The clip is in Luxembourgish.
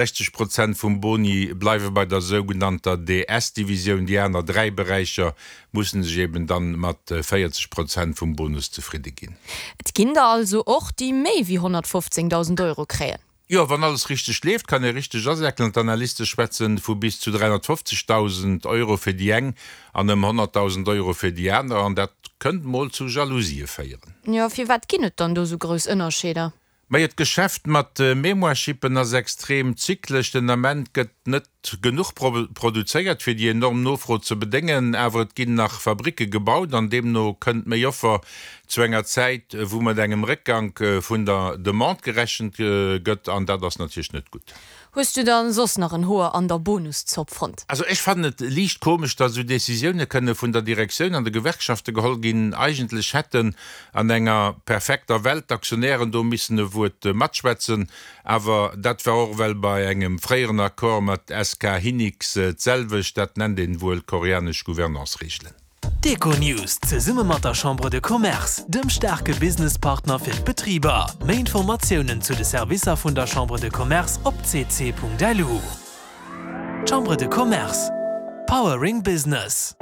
60 Prozent vum Boni bleiwe bei der sougenannter DS-Divisioun, déi aner 3 Beräicher mussen sech eben dann mat 40 Prozent vum Bonus zefridde ginn. Et ginn der also och, déi méi wéi 115.000 Euro kréien. Jo, wann alles richteg leeft, kann ee richteg asäckelen. D'Analyste schwätzen vu bis zu 350.000 Euro fir déi eng an ëm 100.000 Euro fir déi aner, an dat kënnt mol zu Jalousië féieren. Jo, firwat ginn et dann do sou grouss Ënnerscheeder? Majo, d'Geschäft mat Mémoire-Chippen ass extrem zyklesch. Den Ament gëtt net genuch produzéiert, fir déi enorm Nofro ze bedéngen. Awer et ginn nach Fabricke gebaut an deemno kënnt méi Offer zu enger Zäit, wou mat engem Réckgank vun der Demande gerechent gëtt. An dat ass natierlech net gutt. Hues du dann soss nach en Hoer an der Bonuszopp fonnt? Also ech fannen et liicht komesch, datt esou Decisioune kënne vun der Direktioun an de Gewerkschafte geholl ginn. Eigentlech hätten an enger perfekter Welt d'Aktionären do missen e Wuert matschwätzen. Awer dat war och ewell bei engem fréieren Accord mat SK Hynix d'selwecht. Dat nennt een wuel koreanesch Gouvernance-Reegelen. D'Econews zesumme mat der Chambre de Commerce, dem staarke Businesspartner fir d'Betriber. Méi Informatiounen zu de Servicer vun der Chambre de Commerce op cc.lu. Chambre de Commerce, Powering Business.